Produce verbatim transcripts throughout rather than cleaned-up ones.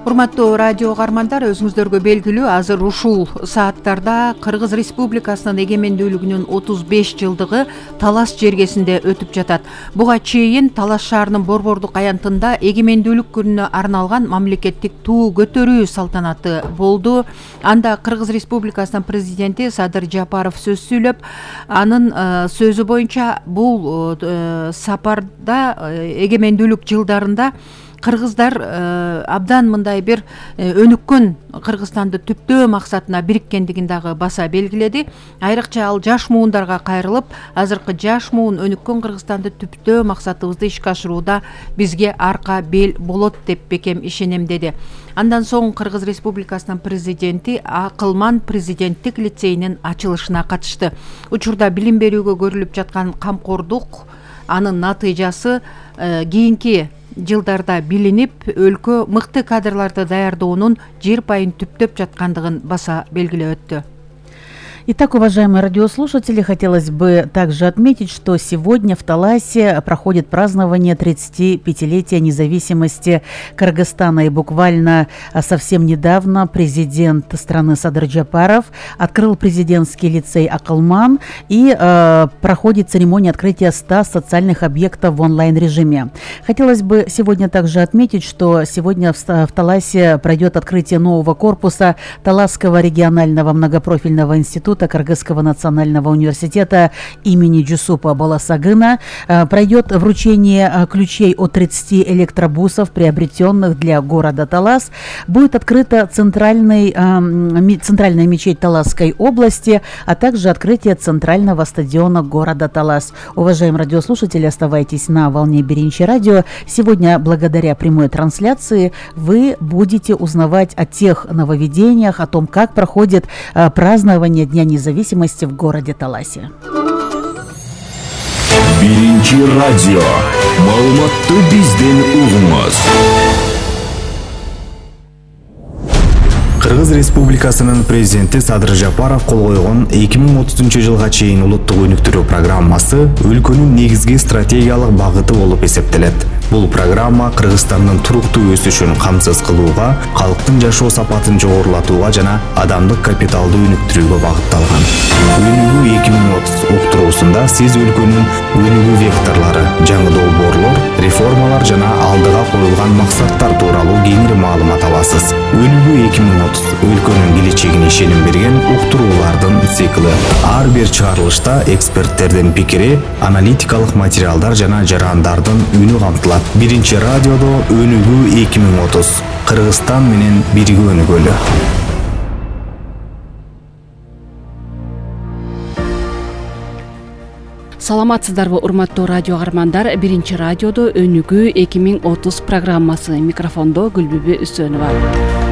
Урматтуу радио угармандар, өзүңүздөргө белгилүү азыр ушул сааттарда Кыргыз Республикасынын эгемендүүлүгүнүн отуз беш жылдыгы Талас жергесинде өтүп жатат. Буга чейин Талас шаарынын Борбордук аянтында эгемендүүлүк күнүнө арналган мамлекеттик туу көтөрүү салтанаты болду. Анда Кыргыз Республикасынын президенти Садыр Жапаров сөз сүйлөп, анын сөзү боюнча бул сапарда эгемендүүлүк жылдарында кыргыздар абдан мындай бир өнүккөн Кыргызстанды түптөө максатына бириккендигин дагы баса белгиледи. Айрыкча ал жаш муундарга кайрылып, азыркы жаш муун өнүккөн Кыргызстанды түптөө максатыбызды ишке ашырууда бизге арка бел болот деп бекем ишенем деди. Андан соң Кыргыз Республикасынын президенти Акылман президенттик лицейинин ачылышына катышты. Учурда билим берүүгө көрүлүп жаткан камкордук, анын натыйжасы кийинки жылдарда билинип, өлкө мыкты кадрларды даярдоонун жер пайын түптөп жаткандыгын баса белгилеп өттү. Итак, уважаемые радиослушатели, хотелось бы также отметить, что сегодня в Таласе проходит празднование тридцатипятилетия независимости Кыргызстана. И буквально совсем недавно президент страны Садыр Жапаров открыл президентский лицей «Акылман», и э, проходит церемония открытия ста социальных объектов в онлайн-режиме. Хотелось бы сегодня также отметить, что сегодня в, в Таласе пройдет открытие нового корпуса Таласского регионального многопрофильного института Кыргызского национального университета имени Жусупа Баласагына. Пройдет вручение ключей от тридцати электробусов, приобретенных для города Талас. Будет открыта центральный, центральная мечеть Таласской области, а также открытие центрального стадиона города Талас. Уважаемые радиослушатели, оставайтесь на волне Биринчи радио. Сегодня, благодаря прямой трансляции, вы будете узнавать о тех нововведениях, о том, как проходит празднование Дня независимости в городе Таласе. Биринчи радио. Маалыматты бизден угуңуз. Кыргыз Республикасынын президенти Садыр Жапаров кол койгон эки миң отузунчу жылга чейин улуттук өнүктүрүү программасы өлкөнүн негизги стратегиялык багыты болуп эсептелет. Бул программа Кыргызстандын туруктуу өсүшүн камсыз кылууга, калктын жашоо сапатын жогорулатууга жана адамдык капиталды өнүктүрүүгө багытталган. Өнүгүү эки миң отуз уктуруусунда сиз өлкөнүн өнүгүү векторлору, жаңы долбоорлор, реформалар жана алдыга коюлган максаттар тууралуу кеңири маалымат аласыз. Өнүгүү эки миң отуз өлкөнүн келечегине ишеним берген уктуруулардын циклы. Ар бир чыгарылышта эксперттердин пикири, аналитикалык материалдар жана жарандардын үнү камтылат. Биринчи радиодо өнүгүү эки миң отуз. Кыргызстан менен бирге өнүгөлү. Саламатсыздарбы, урматтуу радио угармандар. Биринчи радиодо өнүгүү эки миң отуз программасы. Микрофондо Гүлбүбү Үсөнова.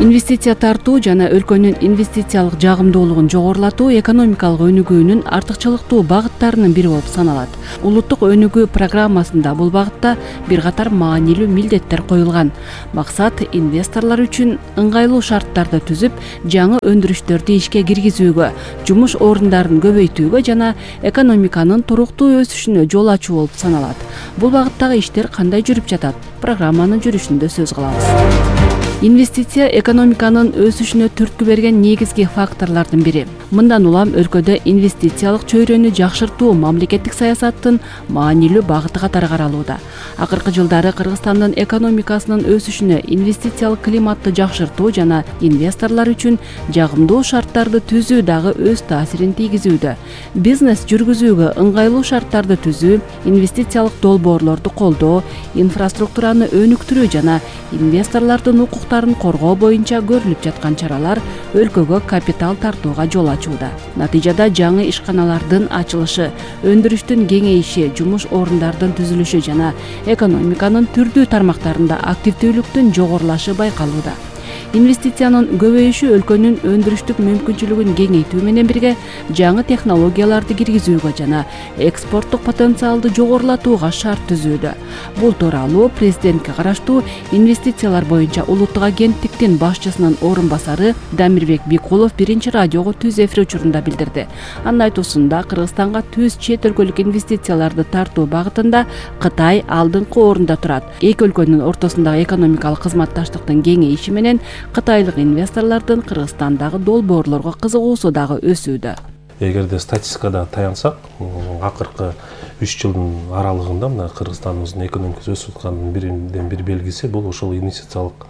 Инвестиция тартуу жана өлкөнүн инвестициялык жагымдуулугун жогорулатуу экономикалык өнүгүүнүн артыкчылыктуу багыттарынын бири болуп саналат. Улуттук өнүгүү программасында бул багытта бир катар маанилүү милдеттер коюлган. Максат инвесторлор үчүн ыңгайлуу шарттарды түзүп, жаңы өндүрүштөрдү ишке киргизүүгө, жумуш орундарын көбөйтүүгө жана экономиканын туруктуу өсүшүнө жол ачуу болуп саналат. Бул багыттагы иштер кандай жүрүп жатат? Программанын жүрүшүндө сөз кылабыз. Инвестиция экономиканын өсүшүнө түрткү берген негизги факторлордун бири. Мындан улам өлкөдө инвестициялык чөйрөнү жакшыртуу мамлекеттик саясаттын маанилүү багыты катары каралууда. Акыркы жылдары Кыргызстандын экономикасынын өсүшүнө инвестициялык климатты жакшыртуу жана инвесторлор үчүн жагымдуу шарттарды түзүү дагы өз таасирин тийгизүүдө. Бизнес жүргүзүүгө ыңгайлуу шарттарды түзүү, инвестициялык долбоорлорду колдоо, инфраструктураны өнүктүрүү жана инвесторлордун укуктарын коргоо боюнча көрүлүп жаткан чаралар өлкөгө капитал тартууга жол ачууда. Натыйжада жаңы ишканалардын ачылышы, өндүрүштүн кеңейиши, жумуш орундардын түзүлүшү жана экономиканын түрдүү тармактарында активдүүлүктүн жогорулашы байкалууда. Инвестициянын көбөйүшү өлкөнүн өндүрүштүк мүмкүнчүлүгүн кеңейтүү менен бирге жаңы технологияларды киргизүүгө жана экспорттук потенциалды жогорулатууга шарт түзүүдө. Бул тууралуу президентке караштуу инвестициялар боюнча улуттук агенттиктин башчысынын орун басары Дамирбек Бикулов биринчи радиого түз эфир учурунда билдирди. Анын айтуусунда Кыргызстанга түз чет өлкөлүк инвестицияларды тартуу багытында Кытай алдыңкы орунда турат. Эки өлкөнүн ортосундагы экономикалык кызматташтыктын кеңейиши менен кытайлык инвесторлордун Кыргызстандагы долбоорлорго кызыгуусу дагы өсүүдө. Эгерде статистикада таянсак, акыркы үч жылдын аралыгында мына Кыргызстаныбыздын экономикасы өсүп аткандын биринен бир белгиси бул ошол инвестициялык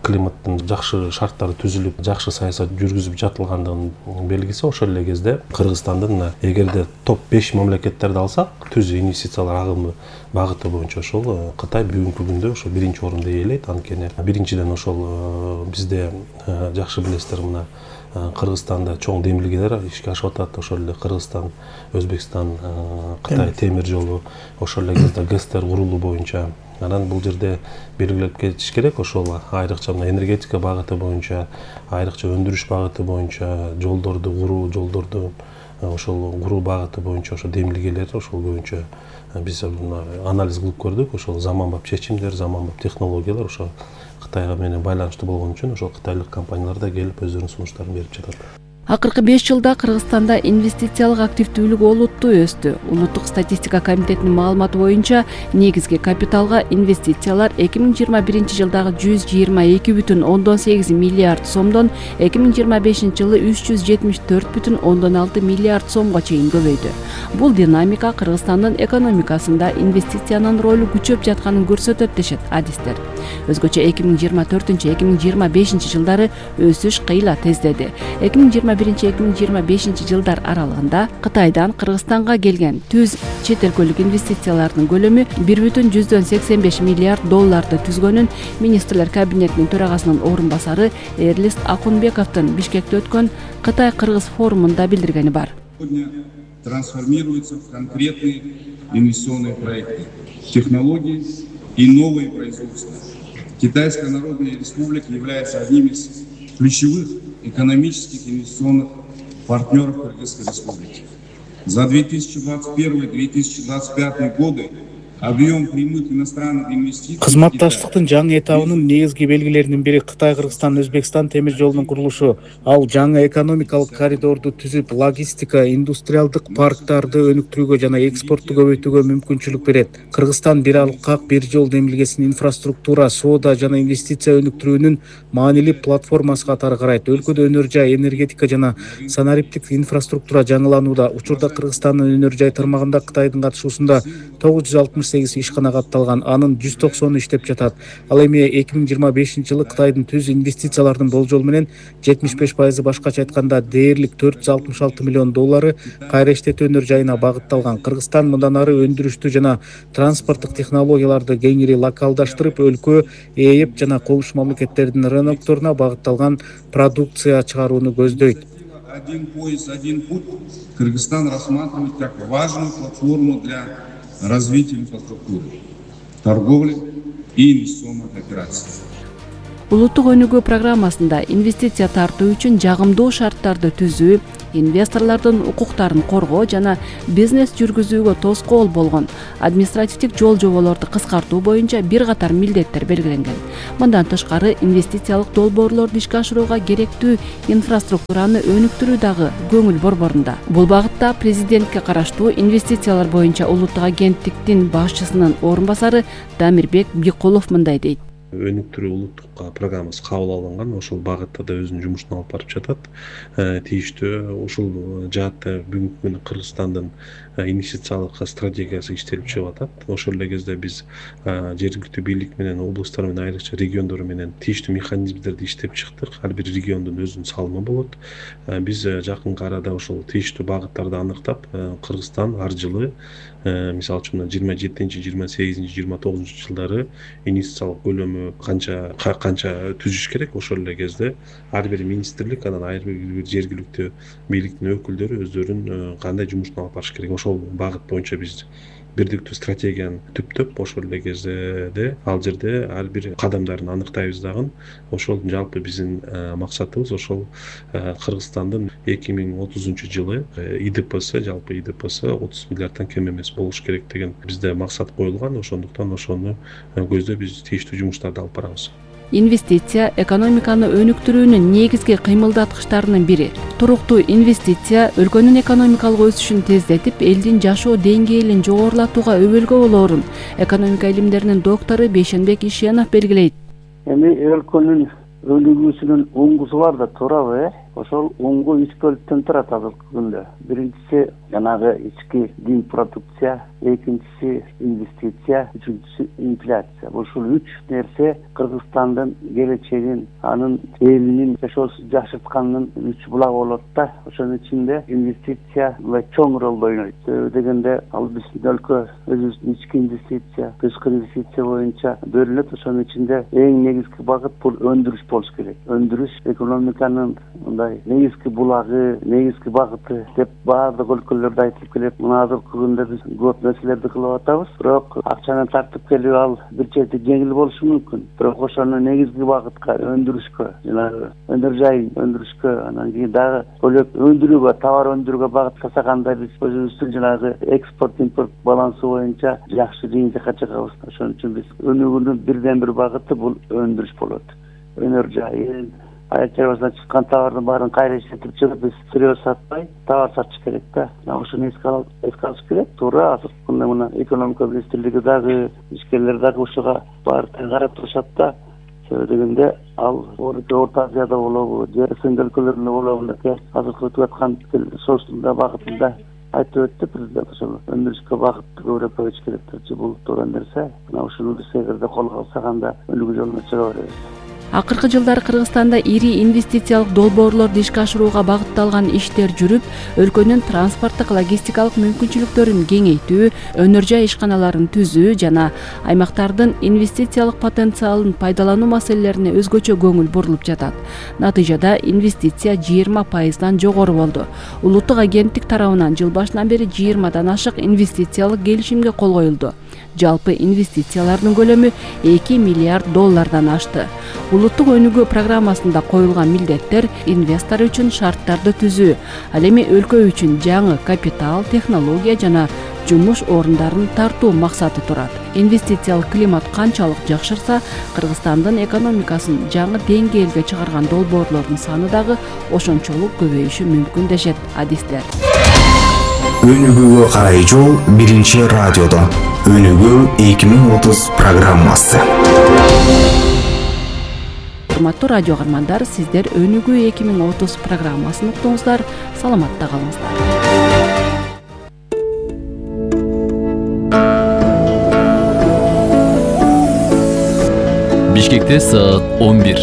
климаттын жакшы шарттары түзүлүп, жакшы саясат жүргүзүп жатылгандыгынын белгиси. Ошол эле кезде Кыргызстандын мына эгерде топ беш мамлекеттерди алсак, түз инвестициялар агымы багыты боюнча ошол Кытай бүгүнкү күндө ошол биринчи орунду ээлейт. Анткени биринчиден ошол бизде жакшы билесиздер, мына Кыргызстанда чоң демилгелер ишке ашып атат. Ошол эле Кыргызстан, Өзбекстан, Кытай темир жолу, ошол эле кезде ГЭСтер курулуу боюнча. Анан бул жерде белгилеп кетиш керек, ошол айрыкча мына энергетика багыты боюнча, айрыкча өндүрүш багыты боюнча, жолдорду куруу, жолдорду ошол куруу багыты боюнча ошол демилгелер ошол боюнча биз анализ кылып көрдүк. Ошол заманбап чечимдер, заманбап технологиялар ошо Кытайга менен байланыштуу болгон үчүн ошол кытайлык компаниялар да келип өздөрүнүн сунуштарын берип жатат. Акыркы беш жылда Кыргызстанда инвестициялык активдүүлүк олуттуу өстү. Улуттук статистика комитетинин маалыматы боюнча негизги капиталга инвестициялар эки миң жыйырма биринчи жылдагы жүз жыйырма эки бүтүн ондон сегиз миллиард сомдон эки миң жыйырма бешинчи жылы үч жүз жетимиш төрт бүтүн ондон алты миллиард сомго чейин көбөйдү. Бул динамика Кыргызстандын экономикасында инвестициянын ролу күчөп жатканын көрсөтөт дешет адистер. Өзгөчө эки миң жыйырма төртүнчү эки миң жыйырма бешинчи жылдары өсүш кыйла тездеди. эки миң жыйырма биринчи эки миң жыйырма бешинчи жылдар аралыгында Кытайдан Кыргызстанга келген түз чет өлкөлүк инвестициялардын көлөмү бир бүтүн жүздөн сексен беш миллиард долларды түзгөнүн министрлер кабинетинин төрагасынын орун басары Эрлист Акунбековдун Бишкекте өткөн Кытай-Кыргыз форумунда билдиргени бар. Сегодня трансформируются в конкретные инвестиционные проекты, технологии и новые производства. Китайская Народная Республика является одним из ключевых экономических инвестиционных партнеров Кыргызской Республики. За две тысячи двадцать первый — две тысячи двадцать пятый годы объем прямых иностранных инвестиций кызматташтыктын жаңы этабынын негизги белгилеринин бири Кытай, Кыргызстан, Өзбекстан темир жолунун курулушу. Ал жаңы экономикалык коридорду түзүп, логистика, индустриалдык парктарды өнүктүрүүгө жана экспортту көбөйтүүгө мүмкүнчүлүк берет. Кыргызстан бир аралык ак бир жол демилгесин инфраструктура, соода жана инвестиция өнүктүрүүнүн маанилүү платформасы катары карайт. Өлкөдө өнөр жай, энергетика жана санариптик инфраструктура жаңыланууда. Учурда Кыргызстандын өнөр жай тармагында Кытайдын катышуусунда тогуз жүз алтымыш сегиз ишкана катталган, анын жүз токсону иштеп жатат. Ал эми эки миң жыйырма бешинчи жылы Кытайдын түз инвестициялардын болжол менен жетимиш беш пайызы, башкача айтканда дээрлик төрт жүз алтымыш алты миллион доллары кайра иштетүү өнөр жайына багытталган. Кыргызстан мындан ары өндүрүштү жана транспорттук технологияларды кеңири локалдаштырып, өлкө, ээп жана коңшу мамлекеттердин рынокторуна багытталган продукция чыгарууну көздөйт. Один пояс, один путь Кыргызстан рассматривает как важную платформу для развития инфраструктуры, торговли и инвестиционных операций. Улуттук өнүгүү программасында инвестиция тартуу үчүн жагымдуу шарттарды түзүү, инвесторлордун укуктарын коргоо жана бизнес жүргүзүүгө тоскоол болгон административдик жол жоболорду кыскартуу боюнча бир катар милдеттер белгиленген. Мындан тышкары инвестициялык долбоорлорду ишке ашырууга керектүү инфраструктураны өнүктүрүү дагы көңүл борборунда. Бул багытта президентке караштуу инвестициялар боюнча улуттук агенттиктин башчысынын орун басары Дамирбек Бикулов мындай дейт. Өнүктүрүү улуттук программасы кабыл алынган, ошол багытта да өзүнүн жумушун алып барып жатат. Тийиштүү ушул жаатта бүгүнкү күндө Кыргызстандын инвестициялык стратегиясы иштелип чыгып атат. Ошол эле кезде биз жергиликтүү бийлик менен, облустар менен, айрыкча региондор менен тийиштүү механизмдерди иштеп чыктык. Ар бир региондун өзүнүн салымы болот. Биз жакынкы арада ошол тийиштүү багыттарды аныктап, Кыргызстан ар жылы мисалы үчүн жыйырма жетинчи, жыйырма сегизинчи, жыйырма тогузунчу жылдары инвестициялык көлөмү канча канча түзүш керек. Ошол эле кезде ар бир министрлик, анан ар бир жергиликтүү бийликтин өкүлдөрү өздөрүнүн кандай жумушун алып барыш керек. Ошол багыт боюнча биз бирдиктүү стратегияны түптөп ошол эле кезде ал жерде ар бир кадамдарын аныктайбыз дагы. Ошол жалпы биздин максатыбыз ошол Кыргызстандын эки миң отузунчу жылы И Д Псы жалпы И Д Псы отуз миллиарддан кем эмес болуш керек деген бизде максат коюлган. Ошондуктан ошону көздөп биз тийиштүү жумуштарды алып барабыз. Инвестиция экономиканы өнүктүрүүнүн негизги кыймылдаткычтарынын бири. Туруктуу инвестиция өлкөнүн экономикалык өсүшүн тездетип, элдин жашоо деңгээлин жогорулатууга өбөлгө болоорун экономика илимдеринин доктору Бейшенбек Ишенов белгилейт. Эми өлкөнүн өнүгүүсүнүн уңгусу бар да турабы, э? Ошол уңгу үч бөлүктөн турат азыркы күндө. Биринчиси жанагы ички дин продукция, экинчиси инвестиция, үчүнчүсү инфляция. Ушул үч нерсе Кыргызстандын келечегин, анын элинин жашоосун жакшырткандын үч булагы болот да. Ошонун ичинде инвестиция мындай чоң ролду ойнойт. Себеби дегенде ал биздин өлкө өзүбүздүн ички инвестиция, тышкы инвестиция боюнча бөлүнөт. Ошонун ичинде эң негизги багыт бул өндүрүш болуш керек. Өндүрүш экономиканын мындай негизги булагы, негизги багыты деп баардык өлкөлөрдө айтылып келет. Мына азыркы күндө биз көп нерселерди кылып атабыз, бирок акчаны тартып келүү ал бир жерде жеңил болушу мүмкүн. Бирок ошону негизги багытка, өндүрүшкө, жанагы өнөр жайын өндүрүшкө, анан кийин дагы бөлөк өндүрүүгө, товар өндүрүүгө багыттасаганда биз өзүбүздүн жанагы экспорт импорт балансы боюнча жакшы жыйынтыкка чыгабыз. Ошон үчүн биз өнүгүүнүн бирден бир багыты бул өндүрүш болот. Өнөр жайын, аят чарбасынан чыккан товардын баарын кайра иштетип чыгып биз сырье сатпай товар сатыш керек да. Ошону эске алып эске алыш керек. Туура азыркы күндө мына экономика министрлиги дагы, ишкерлер дагы ушуга баарын карап турушат да. Себеби дегенде ал Орто Азияда болобу, же С Н Г өлкөлөрүндө болобу, азыркы өтүп аткан соцдун багытында айтып өттү президент. Ошол өндүрүшкө багытты көбүрөөк койуш керек депчи, бул туура нерсе. Мына ушуну биз эгерде колго алсак анда өнүгүү жолуна чыга беребиз. Акыркы жылдары Кыргызстанда ири инвестициялык долбоорлорду ишке ашырууга багытталган иштер жүрүп, өлкөнүн транспорттук логистикалык мүмкүнчүлүктөрүн кеңейтүү, өнөр жай ишканаларын түзүү жана аймактардын инвестициялык потенциалын пайдалануу маселелерине өзгөчө көңүл бурулуп жатат. Натыйжада инвестиция жыйырма пайыздан жогору болду. Улуттук агенттик тарабынан жыл башынан бери жыйырмадан ашык инвестициялык келишимге кол коюлду. Жалпы инвестициялардын көлөмү эки миллиард доллардан ашты. Улуттук өнүгүү программасында коюлган милдеттер инвестор үчүн шарттарды түзүү, ал эми өлкө үчүн жаңы капитал, технология жана жумуш орундарын тартуу максаты турат. Инвестициялык климат канчалык жакшырса, Кыргызстандын экономикасын жаңы деңгээлге чыгарган долбоорлордун саны дагы ошончолук көбөйүшү мүмкүн дешет адистер. Өнүгүүгө карай жол биринчи радиодо. Өнүгүү эки миң отуз программасы. Урматтуу радио каармандар, сиздер Өнүгүү эки миң отуз программасын уктуңуздар. Саламатта калыңыздар. Бишкекте саат он бир.